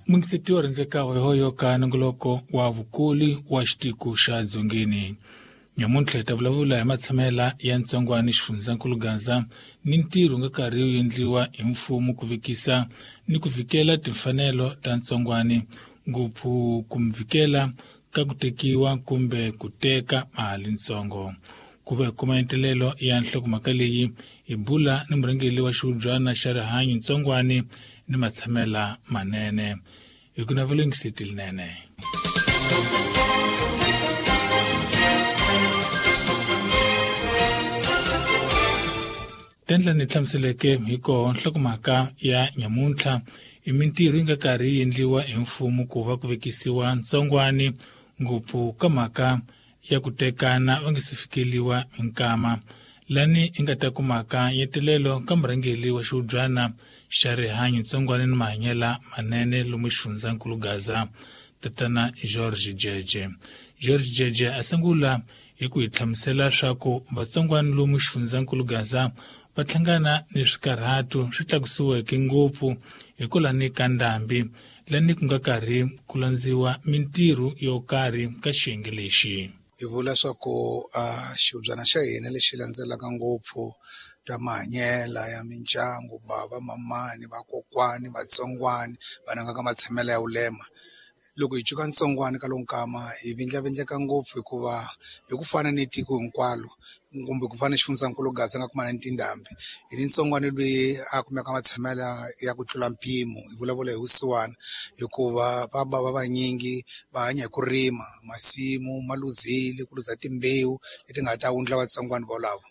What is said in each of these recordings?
Mungisetiwa rindzeka hoyohoyo ka nongoloko wa vukuli wa xitiko xa Dzongeni. Nyamuntlha hi ta vulavula hi matshamela ya ntsongwani xifundzankulu Gaza ni ntirho nga karhi wu endliwa hi mfumo ku vekisa ni ku vikela timfanelo ta ntsongwani, ngopfu ku vikela ka ku tekiwa kumbe ku teka mali ntsongo. Ku va hi kuma entelelo ya nhlokomhaka leyi hi bula ni murhangeri wa xihubyana xa rihanyo ntsongwani ni matshamela manene. Hi ku navela yingiseti linene. Tendla ni hlamuseleke hi koho nhlokomhaka ya nyamuntlha i mintirho yi nga karhi yi endliwa hi mfumo ku va ku vekisiwa ntsongwani ngopfu ka mhaka ya ku tekana va nga si fikeliwa hi nkama lani i nga ta kumaka nyetelelo ka murhangeri wa xihubyana xa rihanyo ntsongwani ni mahanyela manene lomu xifundzankulu Gaza, tatana George Jeje. George Jeje a sungula hi ku hi hlamusela swa ku vatsongwani lomu xifundzankulu Gaza va hlangana ni swikarhato swi tlakusiweke ngopfu hikwalani ka ndhambi lani ku nga karhi ku landziwa mintirho yo karhi ka xiyenge lexi. Hi vula swa ku xihubyana xa hina lexi landzelaka ngopfu ta mahanyela ya mindyangu, bava, mamani, vakokwani, vatsongwani, vanhu nga ka matshamelo ya vulema. Loko hi cuka ntsongwani ka lowu nkama hi vindlavindleka ngopfu hikuva hi ku fana ni tiko hinkwalo kumbe ku fana ni xifundzankulu Gaza nga kumana ni tindhambi hi ni ntsongwani loyi a kumeka matshamelo ya ku tlula mpimo hi vulavula hi vusiwana hikuva va bava vanyingi va hanya hi ku rima masimu ma luzile ku luza timbewu leti nga ta wundla vatsongwani volavo.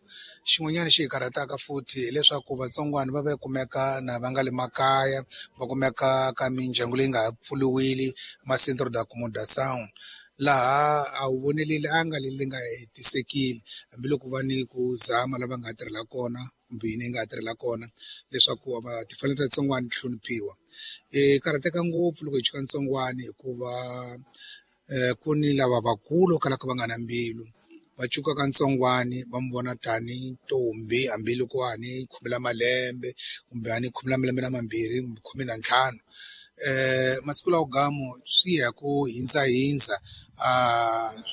Xin'wanyana xi hi karhataka futhi hileswaku vatsongwani va va kumeka na va nga le makaya va kumeka ka mindyangu leyi nga ha pfuriwile ma-centre d'accommodation laha a wu voneleli a nga leri nga hetisekile hambiloko va ni ku zama lava nga tirhela kona kumbe yini yi nga tirhela kona leswaku va timfanelo ta vatsongwani ti hloniphiwa. Hi karhateka ngopfu loko hi chuka ntsongwani hikuva ku ni lava vakulu kalaka va nga na mbilu va cukaka ntsongwani va mu vona tani ntombi hambiloko a ni khume la malembe kumbe a ni khume la malembe na mambirhi kumbe 15. Masiku lawa gamu swi ya ku hindzahindza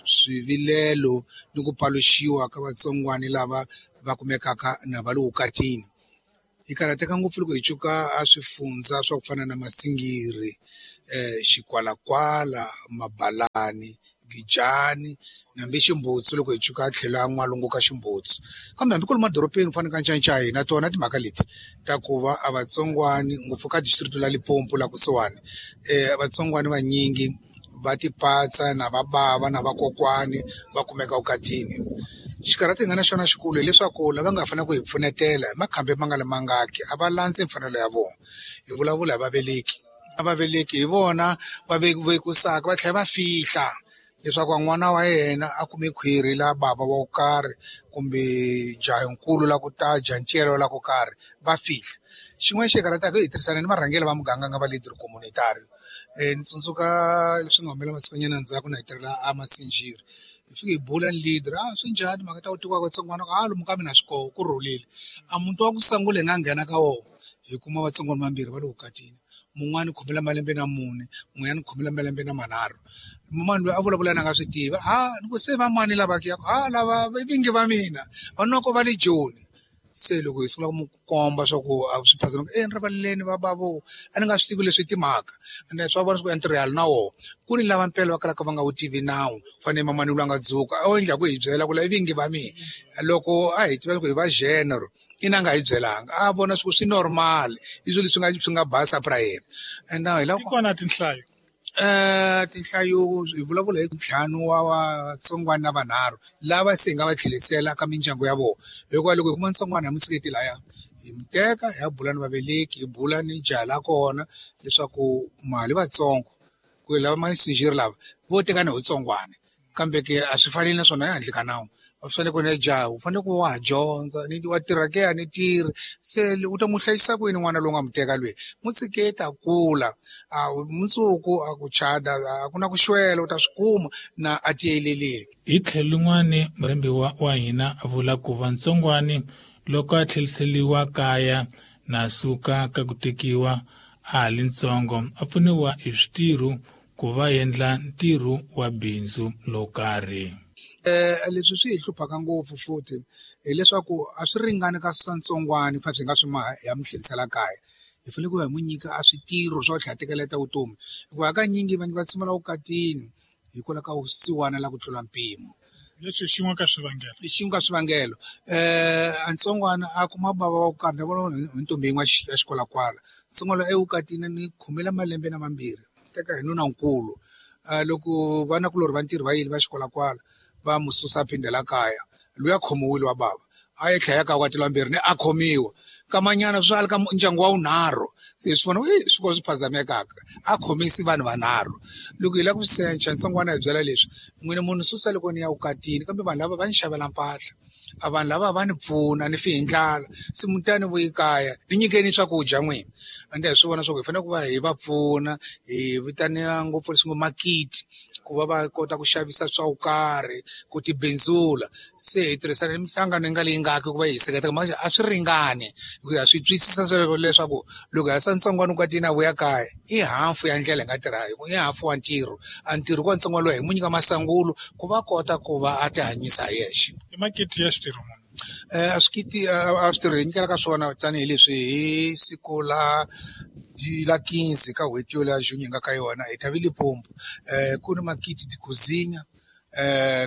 swivilelo ni ku paluxiwa ka vatsongwani lava va kumekaka na va le vukatini. Hi karhateka ngopfu loko hi cuka a swifundza swa ku fana na Masingiri, Xikwalakwala, Mabalani, Gijani hambi Ximbutsu loko hi cuka tlhelo ya n'walungu ka Ximbutsu. Kambe hambi ku ri madorobeni ku fana na ka Ncancai na tona timhaka leti ta ku va a vatsongwani ngopfu ka district la Limpopo la kusuhani vatsongwani vanyingi va tipatsa na va bava na vakokwani va kumeka vukatini. Xikarhato hi nga na xona xikulu hileswaku lava nga fanele ku hi pfunetela hi makhambi ma nga le mangaki a va landzi mfanelo ya vona. Hi vulavula hi vaveleki, a vaveleki hi vona va vekusaka va tlhela va fihla leswaku n'wana wa yena a kume khwiri la bava wa ku karhi kumbe jahankulu la ku ta jancele la ku karhi va fihla. Xin'wana xi hi karhataka hi tirhisana ni varhangeri va muganga nga va leader communitary. Ni tsundzuka leswi nga humelela masikunyana ndzhaku na hi tirhela a Masinjiri hi fike hi bula ni leader a swi njhani mhaka ta ku tekiwa ka vatsongwana a lomu ka mina swi koho ku rhulile. A muti wa ku sungula hi nga nghena ka wona hi kuma vatsongwana vambirhi va le vukatini mun'wani khumela malembe na mune mun'wanyana khumela malembe na manharhu. Mani loyi a vulavula na nga swi tivi a ni ku se va mani lava ke a lava i vingi va mina va noko va le Joni. Se loko hi sungula ku mu komba swa ku a swi phazama e ni rivaleleni va bavo a ni nga swi tivi leswi timhaka ende swa vona swa ku ntirho ya na wona ku ni lava mpela va kalaka va nga wu tivi nawu fanele mamani loyi a nga dzuka a endla ku hi byela ku la i vingi va mina loko a hi tiva ku hi va general ina nga hi byelanga a vona swi swi normal i swilo leswi nga swi nga basa pra yena and hi lava kona tinhlayo tinhlayo hi vulavula hi ntlhanu wa vatsongwana na vanharhu lava se hi nga va tlherisela ka mindyangu ya vona hikuva loko hi kuma ntsongwana hi mu tshiketi laya hi mu teka hi ya bula ni vaveleki hi bula ni jaha la kona leswaku mali vatsongo ku lava masinjiri lava vo tekana hi vutsongwana kambe ke a swi faneli naswona ehandle ka nawu a swi fanele ku ne jaha u fanele ku wa ha dyondza ni wa tirha ke a ni tirhi se u ta mu hlayisa kwini n'wana lowu nga mu teka lweyi mu tshiketa kula a mundzuku a ku chada a ku na ku xwela u ta swi kuma na a tiyelelile. Hi tlhelo lin'wani murhembiwa wa hina a vula ku va ntsongwani loko a tlheriseliwa kaya na suka ka ku tekiwa a ha li ntsongo a pfuniwa hi switirho ku va endla ntirho wa bindzu lowo karhi. Leswi swi hi hluphaka ngopfu futhi hileswaku a swi ringani ka ntsongwana fa swi nga swi maha ya mi tlherisela kaya hi fanele ku va hi n'wi nyika a switirho swa ku tlhela tekeleta vutomi hikuva hakanyingi vanhu va tshama vukatini hikwalaho ka vusiwana la ku tlula mpimo. Leswi xin'we ka swivangelo i xin'we ka swivangelo a ntsongwana a kuma bava wa ku karhi ni vona hi ntombi yin'we ya xikwalakwala ntsongwana evukatini ni khumela malembe na mambirhi teka hi nunankulu loko vanakulorhi va ntirho va yile va xikwalakwala va mu susa a phindela kaya luya khomiwile wa bava a ye tlhela ka vukati lambirhi ni a khomiwa kamanyana swi ali ka ndyangu wa wunharhu se swi vona swi ko swi phazamekaka a khomisi vanhu vanharhu loko hi lava ku secha ntsongwana hi byela leswi n'wina munhu susa loko ni ya vukatini kambe vanhu lava va ni xavela mpahla a vanhu lava va ni pfuna ni fi hi ndlala se mutani vuyi kaya ni nyikeni swakudya n'wina ende hi swi vona swa ku hi fanele ku va hi va pfuna hi vitaniwa ngopfu leswi ngo makiti ku va va kota ku xavisa swa ku karhi ku tibindzula se hi tirhisana ni minhlangano yi nga leyi ngaki ku va hi seketela manje a swi ringani hi ku ya swi twisisa sweswo leswaku loko ha sa ntsongwana vukatini a vuya kaya i hafu ya ndlela hi nga tirha i hafu wa ntirho a ntirho ku ntsongwana loyi hi mu nyika masangulo ku va kota ku va a ti hanyisa hi yexe. I makiti ya switirho munhu a swikiti a switirho hi nyikela ka swona tanihileswi hi siku la la 15 ka n'hweti yo ya June hi nga ka yona hi ta ve Limpopo ku ni makiti ti-cuisine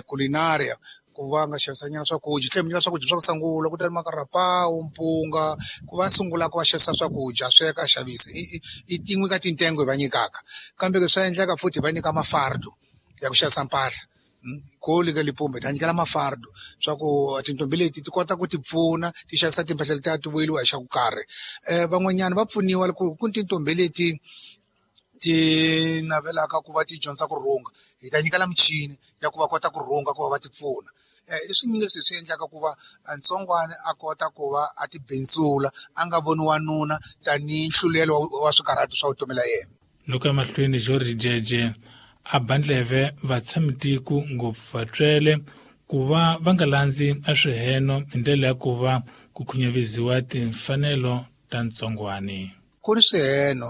culinaria ku va nga xavisa nyana swakudya tlhela mi nyika swakudya swa ku sungula ku ta ni makarapawu mpunga ku va sungula ku va xavisa swakudya sweka a xavisa i tin'we ka tintengo hi va nyikaka kambe swa endleka futhi hi va nyika mafardo ya ku xavisa mpahla ko le ka Limpopo hi ta nyikela mafardo swa ku tintombi leti ti kota ku ti pfuna ti xavisa timpahla letiya ti vuyeliwa hi xa ku karhi van'wanyana va pfuniwa loko ku ni tintombi leti ti navelaka ku va ti dyondza ku rhunga hi ta nyikela michini ya ku va kota ku rhunga ku va va ti pfuna i swinyingi leswi hi swi endlaka ku va ntsongwana a kota ku va a ti bindzula a nga voni wanuna tanihi nhlulelo wa swikarhato swa vutomi la yena. Loko emahlweni George Jeje a bandleve vatshamitiku ngopfu vatswele ku va va nga landzi a swiheno hi ndlela ya ku va ku khunyaviziwa timfanelo ta ntsongwani. Ku ni swiheno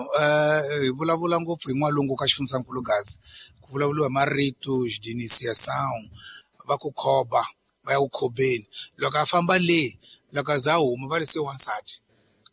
hi vulavula ngopfu hi n'walungu ka xifundzankulu Gaza ku vulavuriwa hi marito xidinisiyasawu va ku khoba va ya ku khobeni loko a famba le loko a za a huma va ri se wansati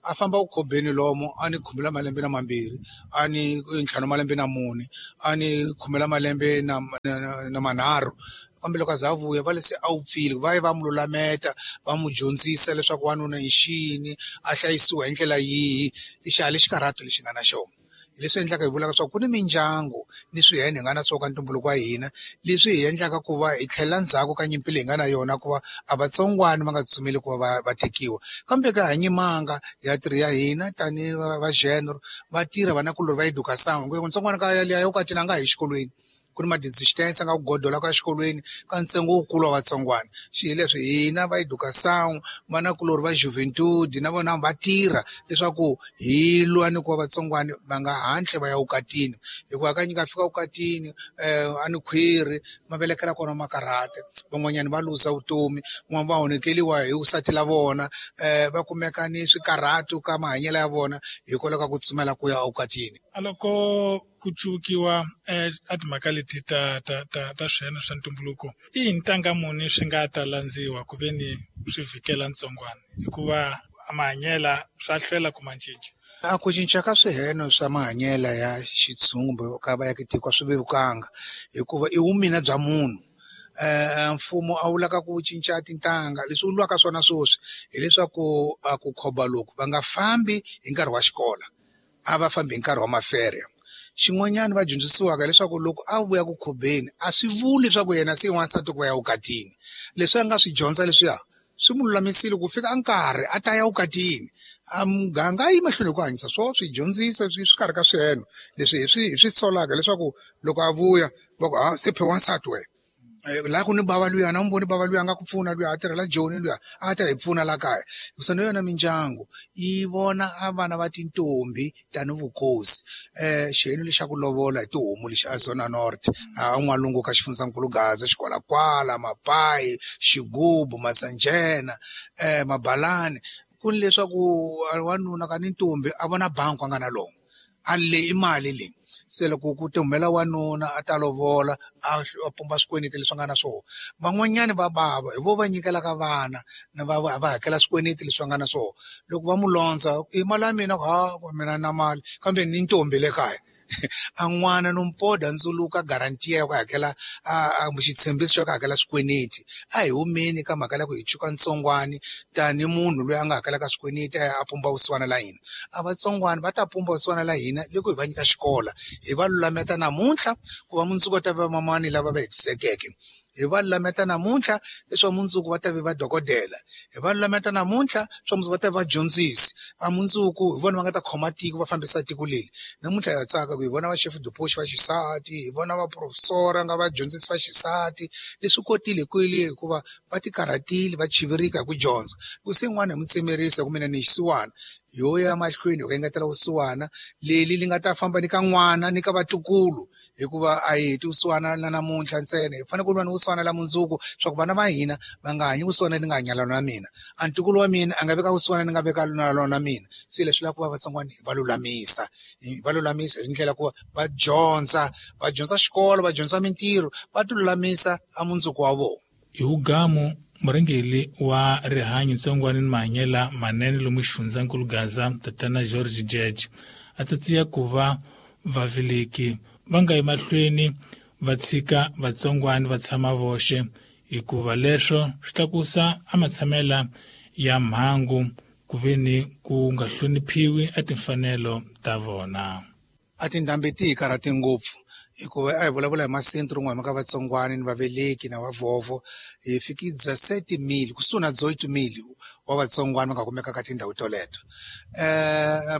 a famba ku khobeni lomo a ni khumela malembe na mambirhi a ni ntlhanu malembe na mune a ni khumela malembe na manharhu kambe loko a za a vuya va le se a wupfile va ye va mu lulameta va mu dyondzisa leswaku wanuna i xini a hlayisiwa hi ndlela yihi lexi a lexi karhato lexi nga na xona hi leswi endlaka hi vulaka leswaku ku ni mindyangu ni swihene hi nga na swona ka ntumbuluko wa hina leswi hi endlaka ku va hi tlhelela ndzhaku ka nyimpi leyi hi nga na yona ku va a vatsongwana va nga tsutsumeli ku va va tekiwa kambe ka ha nyimanga ya tirhi ya hina tanihi va genre va tirha vanakulorhi va education ntsongwana ka yaliya ya vukatini a nga hi xikolweni ku ni ma-distance a nga ku godola ka xikolweni ka ntsengo wukulu wa vatsongwana xi hi leswi hina va education vanakulorhi va juventude na vona va tirha leswaku hi lwa ni ku va vatsongwana va nga hatli va ya vukatini hikuva hakanyingi a fika vukatini a ni khwiri ma velekela kona makarhate van'wanyana va luza vutomi van'wana va onhekeliwa hi vusati la vona va kumeka ni swikarhato ka mahanyelo ya vona hikwalaho ka ku tsumela ku ya evukatini. A loko ku cukiwa a timhaka leti ta ta ta ta swiheno swa ntumbuluko i ntanga muni swi nga ta landziwa ku ve ni swi vhikela ntsongwana hikuva mahanyela swa hlwela ku ma cinca. A ku cinca ka swiheno swa mahanyela ya xitshungu kumbe ka vaakatiko a swi vevukanga hikuva i vumina bya munhu mfumo a wu laka ku cinca tintangha leswi wu lwaka swona sweswi hileswaku a ku khoba loku va nga fambi hi nkarhi wa xikolo a va fambi hi nkarhi wa mafere. Xin'wanyana va dyondzisiwaka leswaku loko a vuya ku khobeni a swi vuli leswaku yena se i wansati ku va ya vukatini leswi a nga swi dyondza leswiya swi mu lulamisile ku fika nkarhi a ta ya vukatini a muganga a yi mahlweni hi ku hanyisa swo swi dyondzisa swi karhi ka swiheno leswi hi swi solaka leswaku loko a vuya va ku ha se phe wansati wena laha ku ni bava luya na n'wi voni bava luya a nga ku pfuna luya a tirhela Joni luya a ta hi pfuna la kaya hikusa na yona mindyangu yi vona a vana va tintombi tani vukosi xiheno lexa ku lovola hi tihomu lexi a Zona North a n'walungu ka xifundzankulu Gaza xikwalakwala mapayi xigubu masanjena mabalani ku ni leswaku wanuna ka ni ntombi a vona bangi a nga na lona. A leyi i mali leyi. Se loko ku ti humela wanuna a ta lovola a pumba swikweleti leswi nga na swona. Van'wanyani va bava hi vo va nyikelaka vana na va hakela swikweleti leswi va nga na swona. Loko va mu londza i mali ya mina ha mina na mali kambe ni ntombi le kaya. A n'wana no mpoda ndzuluka guarantee ya ku hakela a xitshembiso xa ku hakela swikweleti. A hi humeni ka mhaka ya ku hi cuka ntsongwani tani munhu loyi a nga hakelaka swikweleti a pumba vusiwana la hina. A vatsongwana va ta pumba vusiwana la hina loko hi va nyika xikolo, hi va lulameta namuntlha ku va mundzuku va ta va mamani lava va hetisekeke. Hi va lulameta namuntlha leswaku mundzuku va ta va vadokodela, hi va lulameta namuntlha swa mundzuku va ta va vadyondzisi, va mundzuku hi vona va nga ta khoma tiko va fambisa tiko leri. Namuntlha ha tsaka ku hi vona va chef de poste va xisati, hi vona va professor nga vadyondzisi va xisati. Leswi kotile kwele hikuva va ti karhatile va chivirika hi ku dyondza. Ku se n'wana hi mu tsemerisa ku mina ni xisiwana, yo ya mahlweni hi ku engetela vusiwana leli li nga ta famba ni ka n'wana ni ka vatukulu, hikuva a hi heti vusiwana na namuntlha ntsena, hi fanele ku lwa ni vusiwana la mundzuku swa ku vana va hina va nga hanyi vusiwana ni nga hanya na mina, a ntukulu wa mina a nga veka vusiwana ni nga veka na lona mina. Se leswi lava ku va vatsongwana hi va lulamisa, hi va lulamisa hi ndlela ku va dyondza, va dyondza xikolo, va dyondza mintirho, va ti lulamisa a mundzuku wa vona. Hi wugamu murhangeri wa rihanyo ntsongwana ni mahanyelo manene lomu xifundzankulu Gaza tatana George George a tsatsiya ku va vaveleki va nga yi mahlweni va tshika vatsongwana va tshama voxe hikuva leswo swi tlakusa a matshamela ya mhangu ku ve ni ku nga hloniphiwi a timfanelo ta vona. A tindhambi ti hi karhate ngopfu hikuva a hi vulavula hi masentro rin'we mhaka vatsongwana ni vaveleki na vavhovho, hi fikidza 7,000 kusuhi na 8,000 wa vatsongwana va nga kumeka ka tindhawu toleto.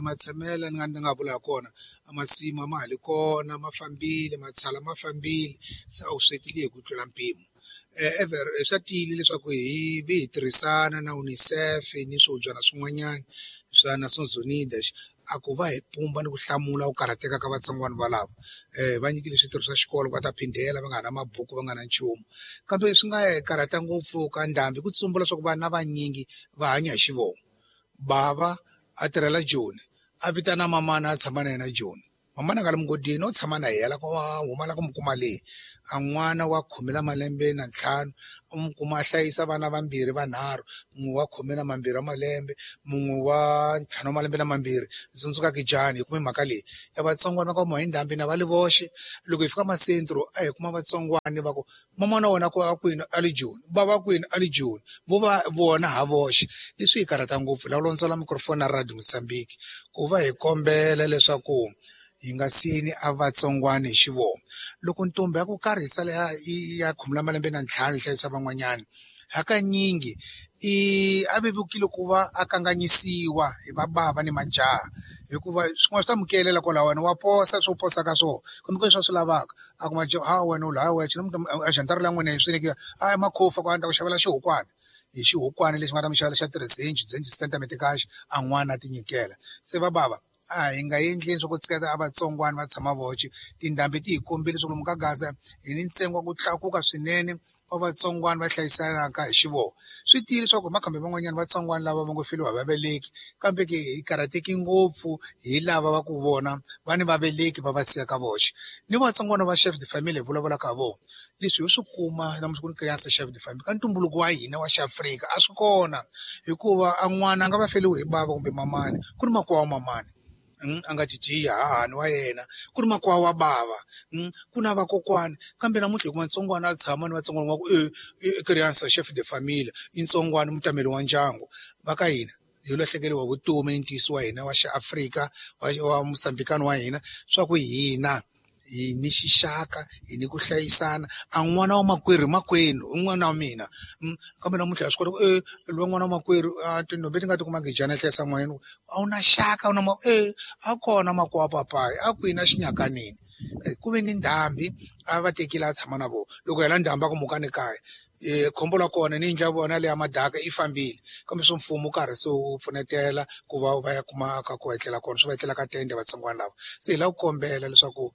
Matshamela ni nga ni nga vula kona a masimu a ma ha li kona, ma fambile, matshala ma fambile, se a wu swekile hi ku tlula mpimo. Ever swa tiyile leswaku hi vi hi tirhisana na UNICEF ni swihubyana swin'wanyana swa Nations Unidas a ku va hi pumba ni ku hlamula ku karhateka ka vatsongwana valava. Va nyikile switirho swa xikolo va ta phindela va nga ha na mabuku va nga na nchumu, kambe swi nga hi karhata ngopfu ka ndhambi ku tsumbula leswaku vana vanyingi va hanya hi xivongo. Bava a tirhela Joni, a vitana mamana a tshama na yena Joni, mamana a nga le mugodini o tshama na yena ku huma la ku mu kuma le. A n'wana wa 15 u mu kuma a hlayisa vana vambirhi vanharhu, mun'we wa 12 wa malembe, mun'we wa 5 wa malembe na mambirhi. Ndzi tsundzuka Kijani hi kume mhaka leyi ya vatsongwana va ka huma hi ndhambi na va le voxe. Loko hi fika masentro a hi kuma vatsongwana va ku mamana wa wena a kwini a le Joni, bava kwini a le Joni, vo va vona ha voxe. Leswi hi karhata ngopfu la londzela microphone na Radio Mozambique ku va hi kombela leswaku hi nga siyeni a vatsongwana hi xivongo. Loko ntombi ya ku karhi yi sala ya 15 yi hlayisa van'wanyana, hakanyingi i a vevukile ku va a kanganyisiwa hi vabava ni majaha, hikuva swin'wana swa amukelela kwalaho wena wa posa swo posa ka swona kumbe ku leswi a swi lavaka a kuma ha wena u laya wexe a xantara la n'wina hi swi nyikiwa a makhofa ku a ni ta ku xavela xihukwana hi xihukwana lexi nga ta mi xavela xa 3 zenji sitatimende a n'wana a ti nyikela. Se va bava a hi nga endleni swa ku tshiketa a vatsongwana va tshama voxe. Tindhambi ti hi kombile leswaku lomu ka Gaza hi ni ntsengo wa ku tlakuka swinene wa vatsongwana va hlayisanaka hi xivongo. Swi tiyile leswaku hi makhambi man'wanyana vatsongwana lava va ngo feriwa hi vaveleki, kambe ke hi karhateki ngopfu hi lava va ku vona va ni vaveleki va va siyaka voxe. Ni vatsongwana va chef de famille hi vulavulaka ha vona, leswi hi swi kuma namuntlha ku ni criança chef de famille ka ntumbuluko wa hina wa xiAfrika a swi kona, hikuva a n'wana a nga va feriwi hi bava kumbe mamani ku ri makwavo wa mamani a nga dyidiya hahani wa yena, ku ri makwavo wa bava, ku na vakokwani. Kambe namuntlha hi kuma ntsongwana a tshama ni vatsongwana va ku i criança chef de famille i ntsongwana mutameli wa ndyangu. Va ka hina hi lahlekeriwa vutomi ni ntiyiso wa hina wa xiAfrika wa Mozambikani wa hina swa ku hina hi ni xixaka hi ni ku hlayisana. A n'wana wa makwerhu makwenu i n'wana wa mina, kambe namuntlha ha swi kota ku loyi n'wana wa makwerhu a tintombi ti nga ti kuma Gijana yi hlayisa n'wana a wu na xaka a wu na a kona makwavo papayi a kwini a xinyakanini. Ku ve ni ndhambi a va tekile a tshama na vona, loko hela ndhambi a ku mukani kaya. Khombo la kona ni yindlu ya vona leya madaka yi fambile, kambe swa mfumo karhi se wu pfunetela ku va va ya kuma ka ku etlela kona, swi va etlela ka tende vatsongwana lava. Se hi lava ku kombela leswaku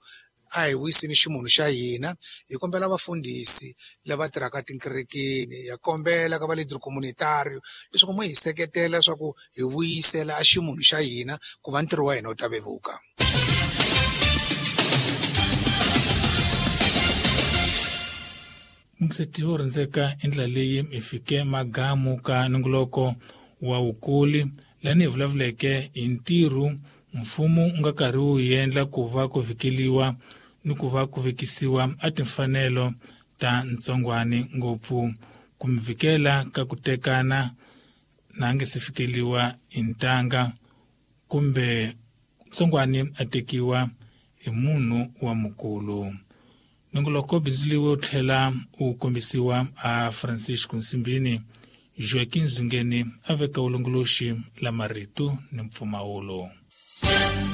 a hi wiseni ximunhu xa hina, hi kombela vafundhisi lava tirhaka tikerekeni, ha kombela ka va leader communitario leswaku mo hi seketela leswaku hi vuyisela a ximunhu xa hina ku va ntirho wa hina wu ta vevuka. Yingiseti wo rhandzeka i ndlela leyi hi fike magamu ka nongoloko wa wukuli lani hi vulavuleke hi ntirho mfumo wu nga karhi wu endla ku va ku vhikeliwa ni ku va ku vekisiwa a timfanelo ta ntsongwani ngopfu ku mi vhikela ka ku tekana na nge se fikeliwa hi ntanga kumbe ntsongwani a tekiwa hi munhu wa mukulu. Nongoloko bindzuliwe wu tlhela wu kombisiwa a Francisco Nsimbini, Joaquim Zungeni a veka vulongoloxi la marito ni mpfumawulo.